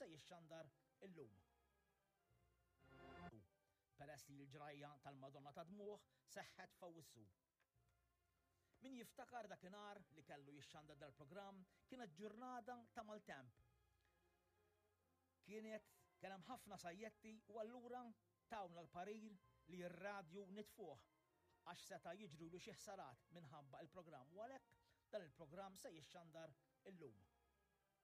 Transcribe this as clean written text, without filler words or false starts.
se jixxandar illum. Peress li l-ġrajja tal-Madonna tad-Dmugħ seħħet f'Awwissu. Min jiftakar dakinhar li kellu jixxandar dal-programm kienet ġurnata ta' maltemp. Kienet kien hemm ħafna sajjetti u allura tawna l-parir li r-radju nitfuh għax seta' jiġrulu xi ħsarat minħabba il-programm u għalhekk dan il-programm se jixxandar illum.